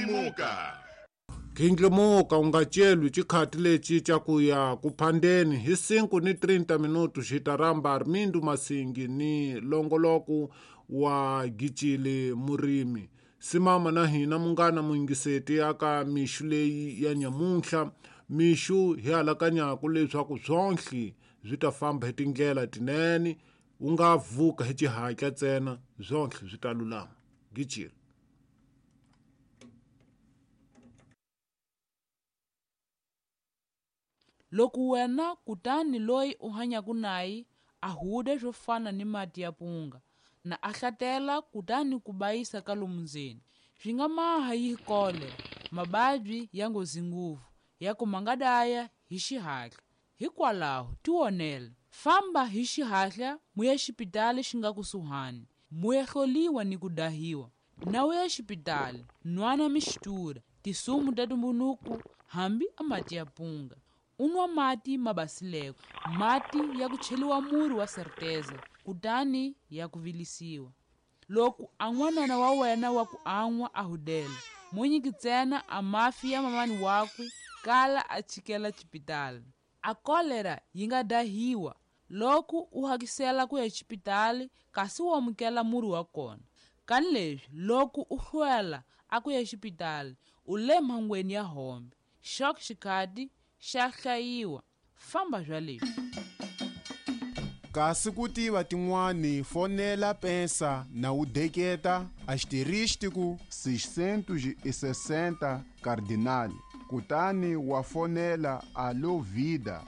Ghindlimuka. Ghindlimuka u nga celwi xikhati lexi xa ku ya ku phandeni hi 5:30 minuto xi ta rhamba Armindo Masingi ni longoloko wa Gicile Murimi. Simama na hina munghana muyingiseti aka mixu leyi ya nyamuntlha mixu hi alakanyaku leswaku swonhle swi ta famba hi tindlela tinene u nga vuka hi xihatla ntsena swonhle swi ta lulama. Gicile. Loko wena kutani loyi u hanyaka naye a huda swo fana ni mati ya punga na a hlatela kutani ku bayisa ka lomu ndzeni swi nga maha yi kolera mababyi ya nghozi ngopfu ya ku ma nga daya hi xihatla. Hikwalaho tivonele, famba hi xihatla mu ya xipitali xi nga kusuhani mu ya hloliwa ni ku dahiwa. Na u ya xipitali nwana mixtura tisumu ta tumbunuku hambi a mati ya punga. U nwa mati ma basileko, mati ya ku cheliwa murhi wa serteza kutani ya ku vilisiwa. Loko a n'wanana wa wena wa ku an'wa a hudela, mo nyiki ntsena a mafi ya mamani wakwe kala a chikela xipitali. A kolera yi nga dahiwa loko u hakisela ku ya xipitali kasi u amukela murhi wa kona. Kani leswi loko u hlwela a ku ya xipitali u le mhangweni ya hombe. Xok xikhati xa hlayiwa. Famba bya leswi. Kasi ku tiva tin'wani fonela pensa na u deketa asterístico 660 cardinal kutani wa fonela Alo Vida.